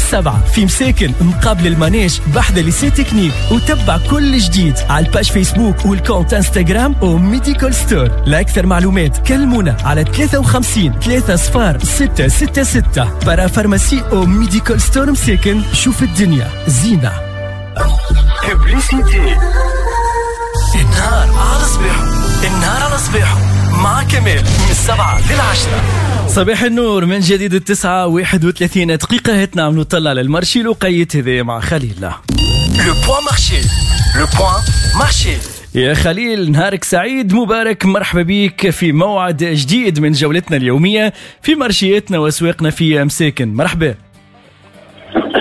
7 في مساكن مقابل ال manège بحذا lycée technique. وتبع كل جديد على ال page Facebook وال compte Instagram و Medical Store. لأكثر معلومات كلمونا على 53 3 صفار 6 6 6. parapharmacie و Medical Store مساكن، شوف الدنيا زينة. publicité. النهار على صباحه، النهار على صباحه مع كمال من 7 لل10. صباح النور من جديد، 9:31. هات نعملوا طلع على ال marché الوقيت هذا مع خليل. le point marché، le point marché. يا خليل، نهارك سعيد مبارك، مرحبا بك في موعد جديد من جولتنا اليومية في مارشياتنا واسواقنا في مساكن. مرحبا.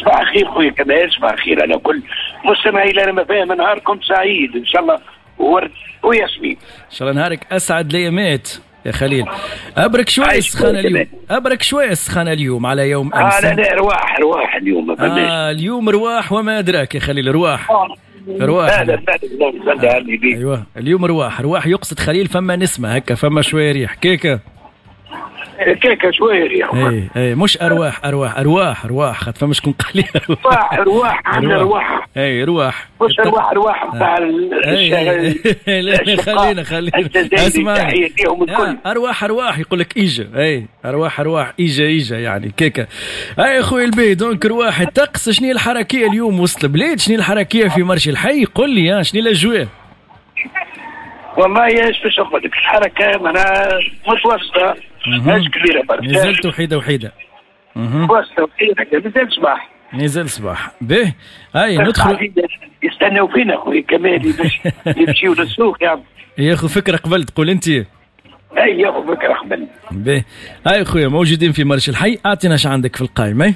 صباح الخير خويا كمال، صباح الخير على كل مستمعي لنا فاهم. نهاركم سعيد ان شاء الله ورد وياسمين. ان شاء الله نهارك اسعد الايامات يا خليل. ابرك شوية السخانه اليوم، ابرك شوية السخانه اليوم على يوم امس. لا لا، رواح رواح اليوم ما فماش. اليوم رواح وما ادراك يا خليل، رواح رواح. لا لا لا، ايوه اليوم رواح رواح، يقصد خليل فما نسمه هكا، فما شوية ريح كيكة كيكة شوية ريح. اي اي، مش ارواح ارواح، ارواح ارواح، خاطر فما شكون قال لي ارواح ارواح، عندنا ارواح. اي رواح، مش ارواح ارواح نتاع. خلينا خلينا اسمع، ارواح ارواح يقول لك ايجا. اي ارواح ارواح، ايجا ايجا يعني كيكة. اي خويا البي، donc رواح الطقس. شنو الحركية اليوم وسط البلاد؟ شنو الحركية في marché الحي؟ قل لي شنو الاجواء؟ والله ايش باش نقول لك، الحركة معناها متوسطه، ماهيش كبيرة برشا. نزلت وحيده وحيده. متوسطه وحيده، مازال صباح. نزل صباح به. هاي ندخل. يستناو فينا خويا كمال باش يمشيو للسوق يعني. ياخذ فكرة قبل تقول انت. اي ياخذ فكرة قبل. به. هاي خويا موجودين في marché الحي، اعطينا اش عندك في القائمة.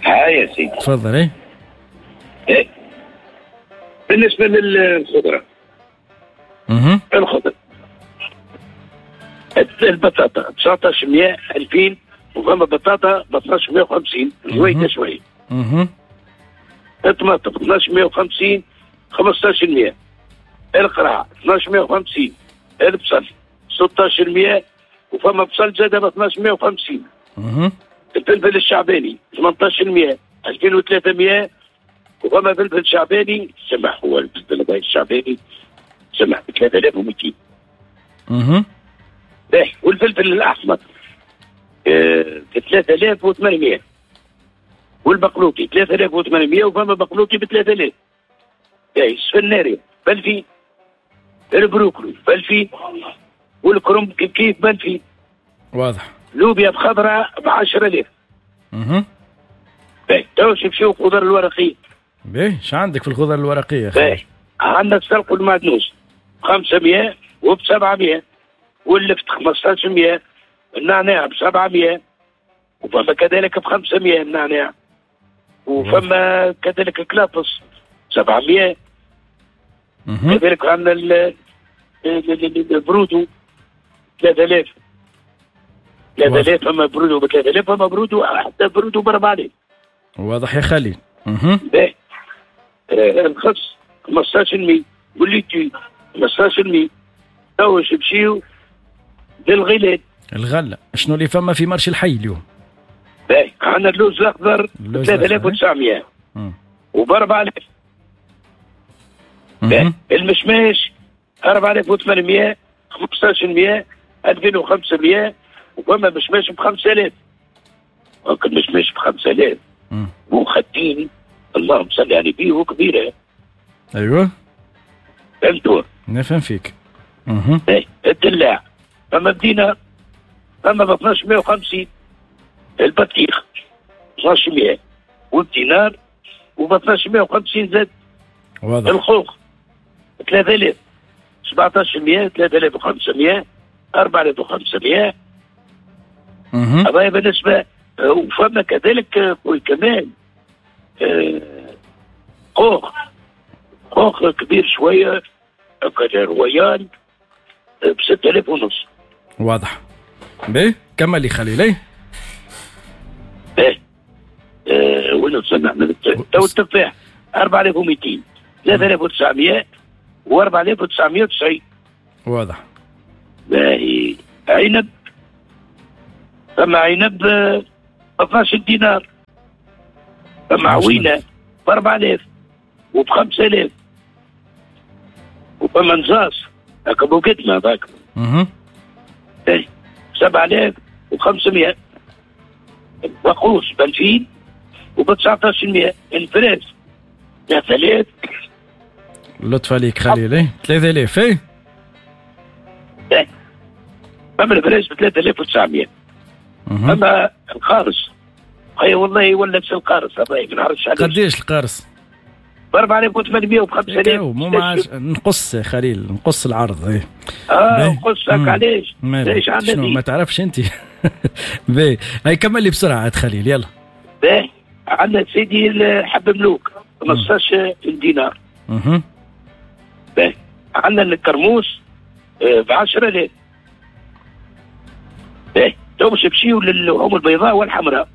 هاي يا سيدي. تفضل. اي. ايه. بالنسبة للخضره. الخضرة البطاطا 1900 2000، وفما بطاطا ب 1250 شوية شوية. الطماطم 1250 1500، القرع 1250، البصل 1600، وفما بصل زاد ب 1250. الفلفل الشعباني 1800 2300، وفما فلفل شعباني سمح، هو الفلفل الشعباني سمح ب 3200. باهي. والفلفل الاحمر ب 3800، والبقلوطي 3800، وفما بقلوطي ب 3000. باهي. السفناري ب 2000، البروكلو ب 2000، والكرنب كيف كيف ب 2000. واضح. لوبيا بخضراء ب 10000. باهي. تو نمشيو الخضر الورقية. باهي، اش عندك في الخضر الورقية؟ باهي، عندنا السلق والمعدنوس 500 وب 700، واللفت 1500، النعناع ب 700، وفما كذلك ب 500 النعناع، وفما كذلك الكلافس 700. كذلك عندنا البرودو 3000 3000، فما برودو ب 3000، فما برودو حتى برودو ب 4000. واضح يا خليل. باهي. الخس 1500، وال laitue 1500. تو نمشيو للغلال. الغلة شنو اللي فما في marché الحي اليوم؟ باهي، عندنا اللوز الاخضر 3900 وب 4000. باهي. المشماش 4800 1500 2500، وفما مشماش ب 5000. المشماش ب 5000 وخدين، اللهم صل على النبي، وكبيره. ايوه فهمتوا؟ نفهم فيك. باهي. الدلاع فما بدينا فما ب 1250، البطيخ 1200 والدينار وب 1250 زاد. واضح. الخوخ 3000 1700 3500 4500. هذا بالنسبة. وفما كذلك خويا كمال خوخ خوخ كبير شوية royal ب 6500. واضح. باهي، كمل لي خليل. باهي. وين وصلنا احنا؟ تو التفاح 4200 3900 و 4990. واضح. باهي. عنب، فما عنب 12 دينار. فما عوينه ب 4000 وب 5000، وفما نزاص هكا بوقتنا هذاك 7500، وقوس ب 2000 وب 1900، الفراس 3000. لطف عليك خليل، 3000. اي فما الفراس ب 3900. فما القارص خي والله ولا نفس القارص هذا ما نعرفش علاش. قداش القارص؟ ب 4800 وب 5000. مو معاش نقص يا خليل، نقص العرض. اي نقص هكا علاش؟ علاش عندنا ما تعرفش انت. باهي هاي كمل لي بسرعة عاد خليل يلا. باهي عندنا سيدي الحب ملوك 15 دينار. باهي عندنا الكرموس ب 10000. باهي تو باش نمشيو للحوم البيضاء والحمراء.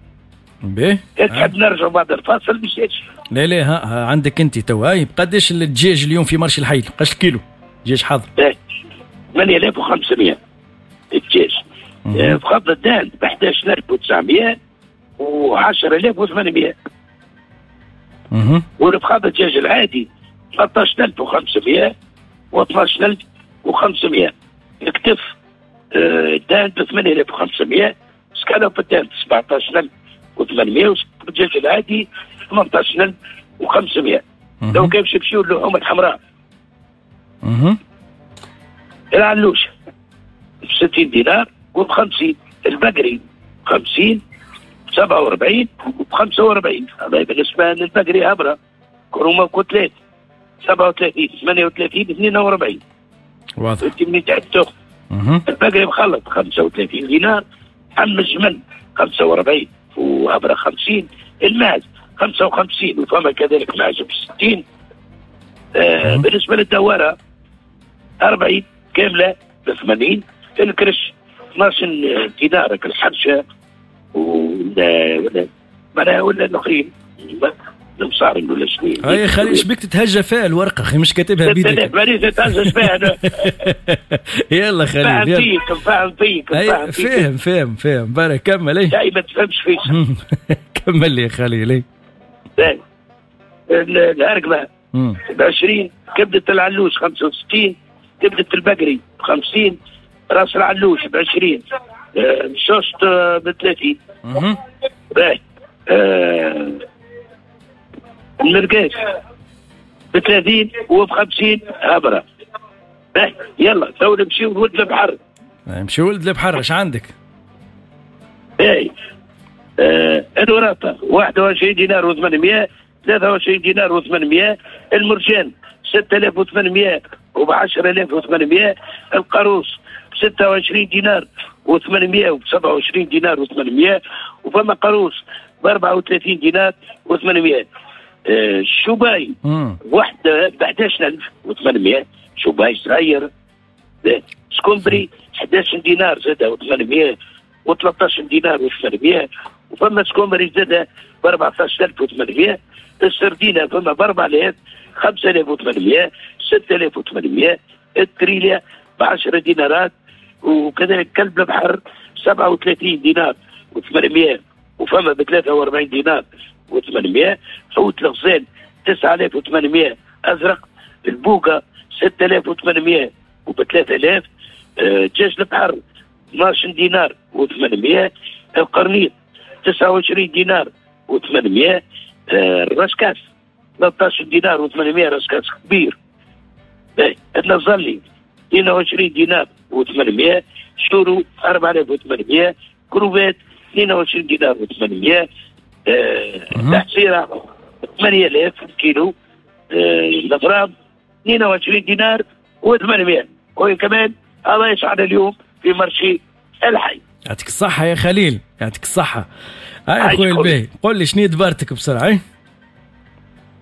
باهي تحب نرجعوا بعد الفاصل باش لا لا ها عندك انت تو. هاي بقداش الدجاج اليوم في marché الحي؟ قداش الكيلو دجاج حاضر؟ 8500 الدجاج. بخفض الدان ب 11900 و 10800. والفخاذ الدجاج العادي 13500 و 12500. الكتف الدان ب 8500، سكالوب الدان 17800، والدجاج العادي 18500. لو كان باش نمشيو للحوم الحمراء، العلوش ب 60 دينار وب 50، البقري 50 47 وب 45. هذا بالنسبة للبقري هبره كرومه كتلات 37 38 42. واضح. انت منين تحب تاخذ؟ البقري مخلط 35 دينار، حم الجمل 45 وهبره 50، الماعز 55 وفما كذلك معز ب 60. بالنسبة للدواره 40 كاملة ب 80، الكرش 12 دينار الحرشه ولا معناها ولا الاخرين المصاري ولا شنو. هاي خليل شبيك تتهجى فيها الورقة اخي مش كاتبها بيدك. مانيش نتهجى فيها انا. يلا خليل فاهم فيك فاهم فيك فاهم فاهم فاهم بارك كمل. اي لا ما تفهمش فيك. كمل لي يا خليل. الهرقمه ب 20، كبده العلوش 65، كبده البقري ب 50، راس العلوش ب 20، الشوشت ب 30. باهي المرقاش ب 30 وب 50 هبره. باهي يلا تو نمشيو لولد البحر. نمشيو ولد البحر اش عندك؟ باهي الوراثة 21 دينار و800، 23 دينار و800، المرجان 6800 وب 10800، القاروص 26 دينار و800 وب 27 دينار و800، وفما قاروص ب 34 دينار و800. الشوباي واحدة ب 11800، شوباي صغير. سكومبري 11 دينار زادة و800 و13 دينار و800، وفما سكومبري زادة ب 14800. السردينة فما ب 4000، 5800، 6800، التريليا ب 10 دينارات، وكذلك كلب البحر 37 دينار و800، وفما ب 43 دينار و800. حوت الغزال 9800 ازرق، البوقه 6800 وب 3000، دجاج البحر 12 دينار و800، القرنيط 29 دينار و800، الرشكاس 13 دينار و800 رشكاس كبير. النزلي 22 دينار و800، شورو 4800، كروفات 22 دينار و800، الحصيرة 8000 كيلو، الغرام 22 دينار و800. وكمان هذا يسعد اليوم في marché الحي. يعطيك الصحة يا خليل، يعطيك الصحة. هاي خويا الباهي، قول لي شنو دبارتك بسرعة؟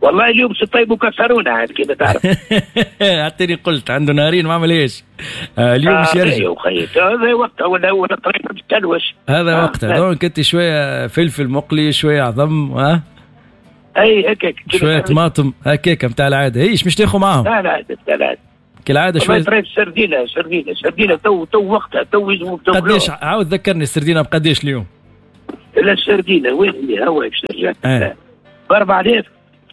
والله اليوم سطيب وكسرونا عاد كيما تعرف. اعطيني قلت عنده نهارين ما عملهاش. اليوم مش يرجع. هذا وقتها ولا هو الطريق تلوش. هذا وقتها، donc انت شوية فلفل مقلي، شوية عظم، ها؟ اي هكاك شوية طماطم هكاك نتاع العادة. ايش مش تاخذ معاهم؟ لا لا نتاع العادة. كالعادة شوية سردينه سردينه سردينه تو وقتها تو يلزموا. قداش عاود ذكرني السردينه بقداش اليوم؟ لا السردينه وين هي هو باش نرجع. ب 4000،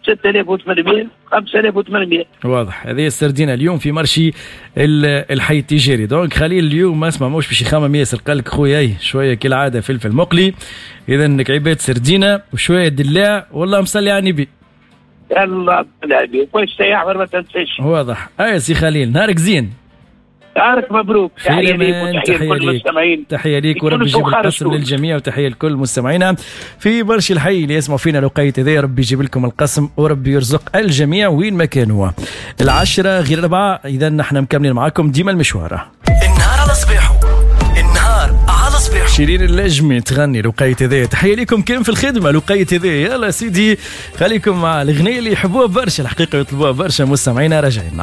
6800، 5800. واضح. هذه السردينه اليوم في marché الحي التجاري. donc خليل اليوم اسمع موش باش يخمم ياسر، قال لك خويا شوية كالعادة فلفل مقلي، اذا كعيبات سردينه وشوية دلاع، والله مصلي على النبي. يلا النبي كويس يا ما تنساش. واضح. اي سي خليل، نهارك زين. نهارك مبروك. تحية ليك وتحية لكل المستمعين. تحية ليك وربي يجيب القسم للجميع، وتحية لكل مستمعينا في برشا الحي اللي يسمعوا فينا الوقيت هذا. ربي يجيب لكم القسم وربي يرزق الجميع وين ما كانوا. 9:45، اذا نحن مكملين معاكم ديما المشوار. النهار على صباحه، النهار على صباحه. شيرين اللجمي تغني الوقيت هذا. تحية لكم كان في الخدمة الوقيت هذا. يلا سيدي خليكم مع الأغنية اللي يحبوها برشا الحقيقة، يطلبوها برشا مستمعينا. راجعين.